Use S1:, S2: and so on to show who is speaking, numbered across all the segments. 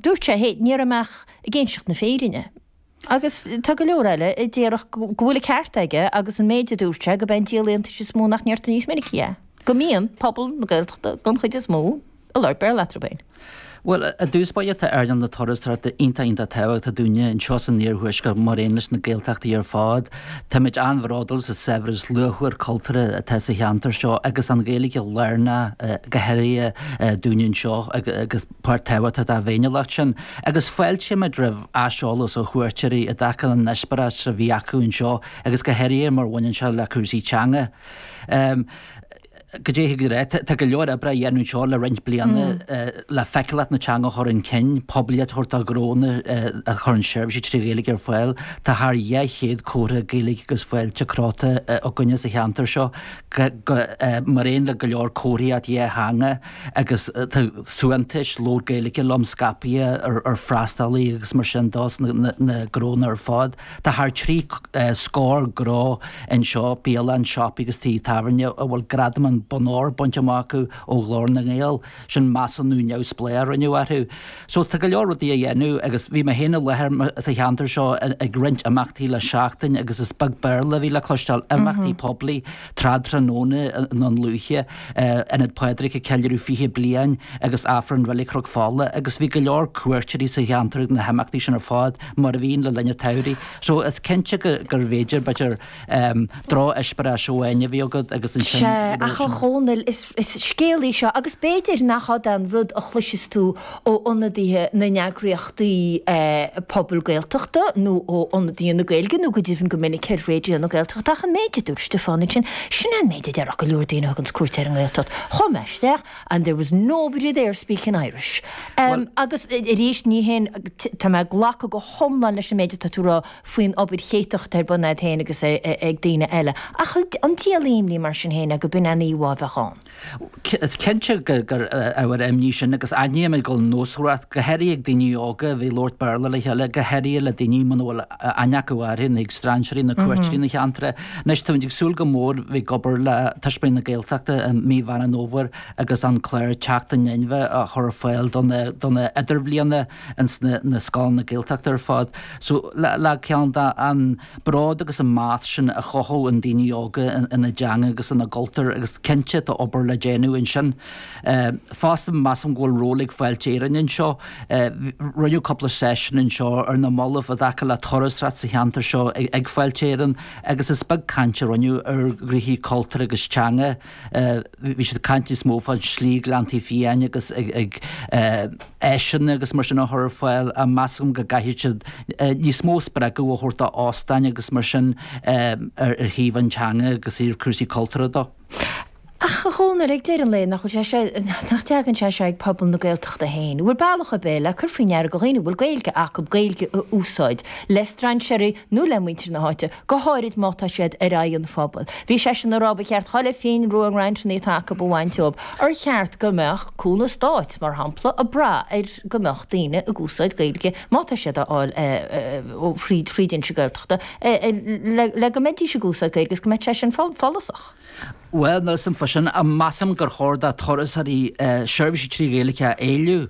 S1: Dúirt sé, hé, ní raibh mé ach ag inseacht na fírinne. Agus tá go leor eile a déarfadh go bhfuil an ceart aige agus an méid a dúirt sé, gurb é an díol iontais is mó nach ndeirtear níos minicí é, go mbíonn pobal na Gaeltachta den chuid is mó ag labhairt Béarla eatarthu féin.
S2: Bhuel, i dtús báire tá earnáil na turasóireachta iontach iontach tábhachtach dúinne anseo san iarthuaisceart mar aon leis na Gaeltachtaí ar fad. Táimid an-bhródúil sa saibhreas luachmhar cultúrtha atá sa cheantar seo agus an Ghaeilge lárnach go háirithe dúinne anseo agus páirt tábhachtach dá bhféiniúlacht sin. Agus fáiltímid roimh aiseolas ó chuairteoirí i dtaca leis an eispéireas a bhí acu anseo agus go háirithe mar bhaineann sé le cúrsaí teanga. Goidé thig le rá, tá go leor oibre á dhéanamh anseo le roinnt bliana le feiceálacht na teanga a chur chun cinn, poiblíocht a thabhairt do ghnónna a chuireann seirbhísí trí Ghaeilge ar fáil. Tá thar 200 comhartha Gaeilge agus fáilte crochta againne sa cheantar seo, mar aon le go leor comharthaíocht dhátheangach agus tá suaitheantais Labhair Gaeilge Liom scaipthe ar freastalaithe agus mar sin de sna gnónna ar fad. Tá thar 3 scór gnó anseo, bialann, siopaí agus tithe tábhairne, a bhfuil gradam an Bonn Óir bainte amach acu ó Ghlór na nGael, sin measúnú neamhspleách a rinneadh orthu. So tá go leor rudaí á dhéanamh agus bhí mé féin i láthair sa cheantar seo ag roinnt imeachtaí le seachtain agus is beag Béarla a bhí le cloisteáil, imeachtaí poiblí, trádtráthnóna i nDún Lúiche, Ionad Phádraig ag ceiliúradh 20 bliain agus Aifreann Reilig Chnoc Fola agus bhí go leor cuairteoirí sa cheantar ag na himeachtaí sin ar fad mar a bhíonn le linn an tsamhraidh. So is cinnte gurbh fhéidir, b'fhéidir, drocheispéireas amháin a bhí agat agus ansin
S1: Sea, ach a Dhónaill, is scéal í seo agus b'fhéidir nach ea an rud a chloiseas tú ó ionadaithe na n-eagraíochtaí pobail Gaeltachta nó ó ionadaithe na Gaeilge nó go deimhin go minic ar Raidió na Gaeltachta ach an méid a dúirt Stiofán ansin, sin é an méid a déarfadh go leor daoine a thuganns cuairt ar an nGaeltacht. Chuaigh mé isteach and there was nobody there speaking Irish. Agus arís ní haon, tá mé ag glacadh go hiomlán leis an méid atá tú a rá faoin obair chéatach atá ar bun agat féin agus ag daoine eile ach an díol imní mar sin féin é go b'in an íomhá a bheadh ann?
S2: Is cinnte gur ábhar imní sin agus aithnímid go bhfuil nósmhaireacht, go háirithe ag daoine óga a bheith ag labhairt Béarla le chéile, go háirithe le daoine muna bhfuil aithne acu orthu, na strainséirí, na cuairteoirí na cheantair. Anois táimid ag súil go mór bheith ag obair le Tuismitheoirí na Gaeltachta i mí Mheán an Fhómhair agus an clár Teacht in Inmhe a chur ar fáil do na idirbhliana ins na scoileanna Gaeltachta ar fad. So le ceann de an bród agus an meas sin a chothú i ndaoine óga ina dteanga agus ina gcultúr agus cinnte tá obair le déanamh ansin. Fosta measaim go bhfuil ról ag Fáilte Éireann anseo. Rinneadh cúpla seisiún anseo ar na mallaibh i dtaca le turasóireacht sa cheantar seo ag Fáilte Éireann agus is beag caint a rinneadh ar ghnoithí cultúir agus teanga. Bhí siad ag caint níos mó fán slí Gleanntaí Fiáine agus ag áiseanna agus mar sin a chur ar fáil ach measaim go gcaithfidh siad níos mó spreagadh a thabhairt do óstáin agus mar sin ar thaobh an teanga agus ar cúrsaí cultúrtha dó.
S1: Ach a Dhónaill, ag deireadh an lae, nach bhfuil sé seo, nach dtagann sé seo ag pobal na Gaeltachta féin? An bhfuil bealach ar bith le cur faoi ndeara do dhaoine a bhfuil Gaeilge acu Gaeilge a úsáid le strainséirí nó le muintir na háite, go háirid má tá siad ar aghaidh an phobail. Bhí seisean ag rá ba cheart chuile phingin rua i ngrantannaí atá acu a bhaint dóibh. Ar cheart go mbeadh cúnamh stáit, mar shampla, ag brath ar go mbeadh daoine ag úsáid Gaeilge má tá siad á fháil ó thríd Fhoinse Gaeltachta le go mbeidís ag úsáid Gaeilge agus go mbeadh sé sin follasach.
S2: Bhuel, níl 'fhios a'm fá sin, ach measaim gur chóir do turasóirí seirbhísí trí Ghaeilge a éileamh.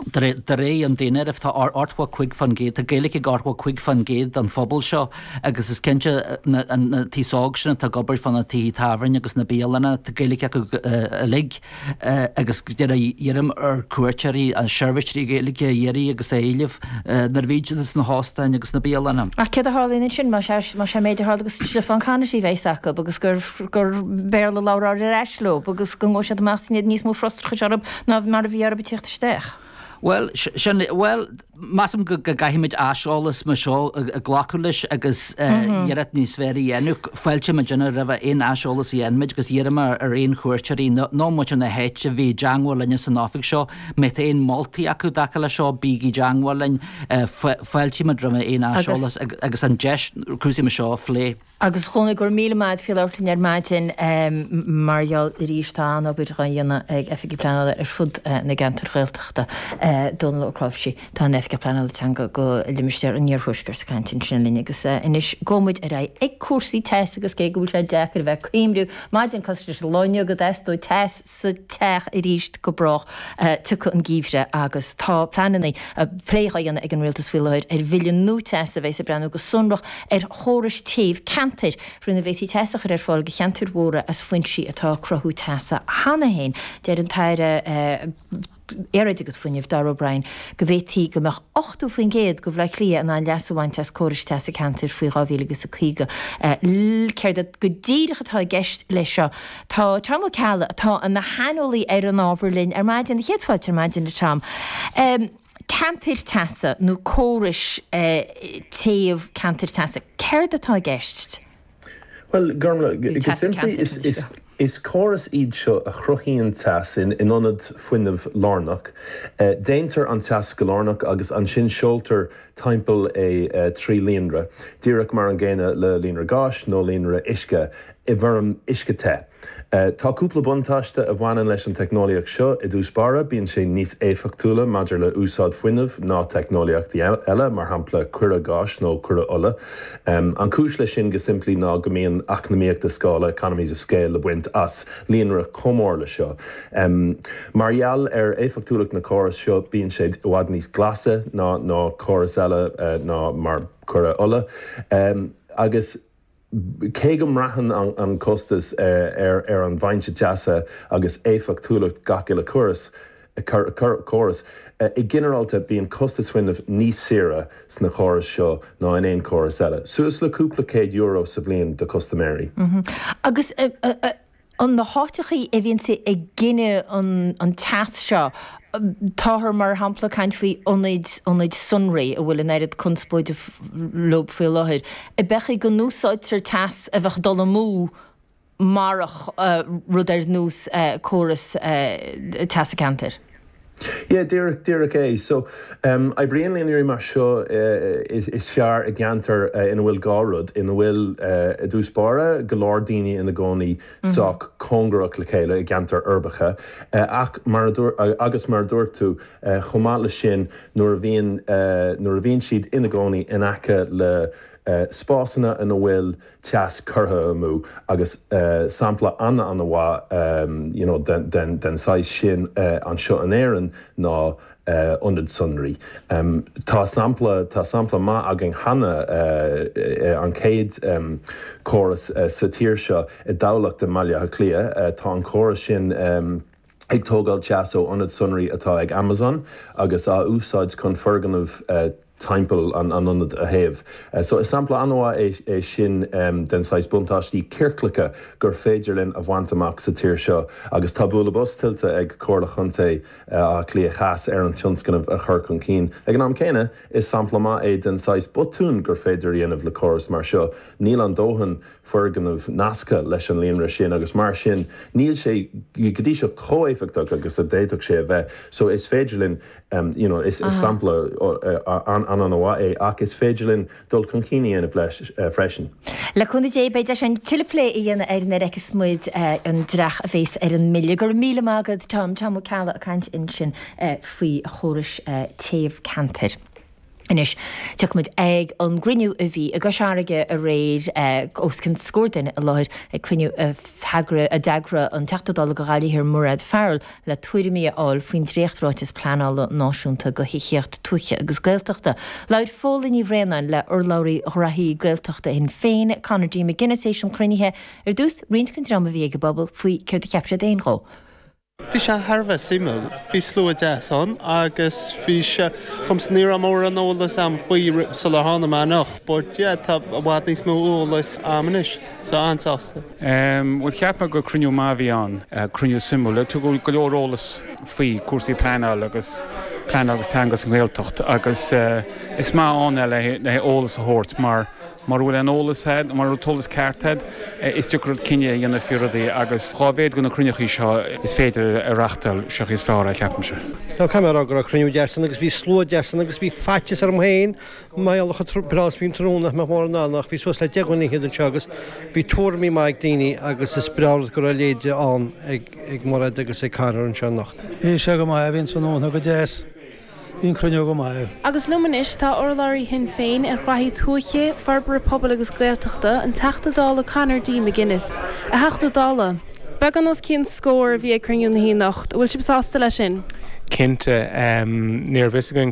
S2: De réir an daonáirimh, tá 85%, tá Gaeilge ag 85% den phobal seo agus is cinnte an t-aos óg sin atá ag obair fá na tithe tábhairne agus na bialanna, tá Gaeilge acu uilig agus iarraim ar cuairteoirí an seirbhís trí Ghaeilge a iarraidh agus a éileamh nuair a bhíonn siad sna hóstáin agus sna bialanna.
S1: Ach céard a tharlaíonn ansin más é an méid a tharla do Stiofán Conaty a bheas acu agus gur Béarla a labhrófar ar ais leo agus go ngabhfaidh siad amach is níos mó frustrachais orthu ná mar a bhí orthu ag tíocht isteach.
S2: Bhuel, sin, bhuel, measaim go gcaithfimid aiseolas mar seo a glacadh leis agus iarracht níos fearr a dhéanamh. Fáiltímid roimh aon aiseolas a dhéanfaimid agus iarraim ar aon chuairteoirí nó muintir na háite a bheith i dteangmháil linne san oifig seo. Má tá aon moltaí acu i dtaca leis seo, bígí i dteangmháil linn. Fáiltímid roimh aon aiseolas agus an deis cúrsaí mar seo a phlé.
S1: Agus a Dhónaill, go raibh míle maith agat faoi labhairt linn ar maidin. Mar gheall arís, tá an-obair dhá dhéanamh ag Oifigigh Pleanála ar fud na gceantar Ghaeltachta. Dónal Ó Cnáimhsí, atá ina Oifigeach Pleanála Teanga do Limistéar an Iarthuaiscirt ag caint ansin linn agus anois gabhfaidh muid ar aghaidh ag cúrsaí teas agus cé go bhfuil sé deacair a bheith ag cuimhniú maidin cosúil leis an lá inniu go dteastódh teas sa teach arís go brách tiocfaidh an geimhreadh agus tá pleananna, plé á dhéanamh ag an Rialtas faoi láthair ar bhille nua teasa a bheas ag breathnú go sonrach ar chórais téimh ceantair faoina bhféadfaí teas a chur ar fáil do cheantair mhóra as foinsí atá ag cruthú teasa cheana féin. Deir an tAire Aeráide agus Fuinnimh, Darragh O'Brien, go bhféadfaí go mbeadh 80% de Bhaile Átha Cliath in ann leas a bhaint as córais teasa ceantair faoi 2050. Céard go díreach atá i gceist leis seo? Tá Tom Ó Ceallaigh, atá ina shaineolaí ar an ábhar linn ar maidin. Céad fáilte ar maidin, a Tom. Ceantair teasa nó córais téamh ceantair teasa, céard atá i gceist?
S3: Bhuel, Gormlaith, go simplí, is córais iad seo a chruthaíonn teas in ionad fuinnimh lárnach. Déantar an teas go lárnach agus ansin seoltar timpeall é trí líonra, díreach mar an gcéanna le líonra gáis nó líonra uisce, i bhfoirm uisce te. Tá cúpla buntáiste a bhaineann leis an teicneolaíocht seo. I dtús báire, bíonn sé níos éifeachtúla maidir le úsáid fuinnimh ná teicneolaíochtaí eile, mar shampla coire gáis nó coire ola. An cúis leis sin go simplí ná go mbíonn eacnamaíochta scála, economies of scale, le baint as líonra chomh mór le seo. Mar gheall ar éifeachtúlacht na córas seo, bíonn sé i bhfad níos glasa ná ná córas eile ná mar coire ola. Agus. Cé go mbraitheann an costas ar an bhfoinse teasa agus éifeachtúlacht gach uile chóras, córas, i ginearálta bíonn costas fuinnimh níos saoire sna córais seo ná in aon chóras eile, suas le cúpla céad euro sa bhliain do chustaiméirí.
S1: Agus an na háiteachaí a bhíonns ag gineadh an teas seo, táthar mar shampla ag caint faoi ionaid, ionaid sonraí a bhfuil an oiread conspóide leo faoi láthair, ab é an chaoi go n-úsáidtear teas a bheadh ag dul amú marach rud ar nós córas teasa ceantair?
S3: Yeah, díreach, díreach é. So, oibríonn líonraí mar seo is fearr i gceantair ina bhfuil dhá rud, ina bhfuil, i dtús báire, go leor daoine ina gcónaí sách cóngarach le chéile i gceantair uirbeacha, ach mar a dúirt, agus mar a dúirt tú, chomh maith leis sin, nuair a bhíonn, nuair a bhíonn siad ina gcónaí in aice le spásanna ina bhfuil teas curtha amú agus sampla an-an-mhaith you know den den saghas sin anseo in Éirinn ná ionad sonraí. Tá sampla tá sampla maith againn cheana an chéad córas sa tír seo i dTamhlacht i mBaile Átha Cliath. Tá an córas sin ag tógáil teas ó ionad sonraí atá ag Amazon agus á úsáid chun foirgneamh timpeall an ionaid a théamh. So is sampla an-mhaith é sin den saghas buntáistí ciorclacha gur féidir linn a bhaint amach sa tír seo agus tá bualadh bos tuillte ag Comhairle Chontae Átha Cliath Theas ar an tionscnamh a chur chun cinn. Ag an am céanna, is sampla maith é den saghas botún gur féidir a dhéanamh le córas mar seo. Níl an dóthain foirgneamh nasctha leis an líonra sin agus mar sin níl sé go dtí seo chomh éifeachtach agus a d'fhéadfadh sé a bheith. So is féidir linn you know is sampla an-an-mhaith é ach is féidir linn dul chun cinn a dhéanamh leis freisin.
S1: Le cúnamh Dé beidh deis againn tuilleadh plé a dhéanamh air nuair a fheicfeas muid an dreach a bhéas ar an mbille. Go raibh míle maith agat Tom, Tom Ó Ceallaigh ag caint ansin faoi chórais téamh ceantair. Anois, tiocfaimid ag an gcruinniú a bhí i gCois Fharraige aréir, os cionn scór duine i láthair ag cruinniú a d'eagraigh an Teachta Dála do Ghaillimh Thiar Mairéad Farrell le tuairimí a fháil faoin dréacht-ráiteas pleanála náisiúnta do thithíocht tuaithe agus Gaeltachta. Labhair Fódhla Ní Bhraonáin le urlabhraí Ghraithí Gaeltachta Shinn Féin, Conor D. McGuinness théis an chruinnithe. Ar dtús, roinnt den dream a bhí ag an bpuball faoi céard a cheap siad féin dhó.
S4: Bhí sé thar a bheith suimiúil. Bhí slua deas ann agus bhí sé dhomsa ní raibh mórán eolas a'm faoi sular tháinig mé anocht but yeah tá i bhfad níos mó eolais a'm anois so an-sásta.
S5: Bhuel cheap mé gur cruinniú maith a bhí ann, cruinniú suimiúil. Tugadh go leor eolas faoi cúrsaí pleanála agus pleanáil agus teanga sa nGaeltacht agus is maith ann é le eolas a thabhairt mar Mura bhfuil aon eolas a'd, mura bhfuil an t-eolas ceart a'd, is deacair cinneadh a dhéanamh faoi rudaí agus dhá mhéad de na cruinneachaí seo is féidir a reachtáil, sé an chaoi is fearr é, ceapaimse.
S6: Now caithfidh mé a rá go raibh cruinniú deas ann agus bhí slua deas ann agus bhí faitíos orm féin mar gheall ar chomh breá is a bhí an tráthnóna nach mbeadh mórán ann ach bhí suas le 10 dhuine fhichead anseo agus bhí tuairimí maith ag daoine agus is breá rud go raibh a leithéid ann ag Mairéad agus ag Conor anseo anocht.
S7: Bhí sé go maith, bhí an tráthnóna go deas. Bhí an cruinniú go maith.
S8: Agus liom anois tá urlabhraí Shinn Féin ar ghraithí tuaithe, forbartha pobail agus Gaeltachta, an Teachta Dála Conor D. McGuinness. A Theachta Dála, beagán os cionn scór a bhí ag cruinniú na hoíche anocht, an bhfuil sibh sásta leis sin?
S5: Cinnte. Ní raibh fhios againn cé.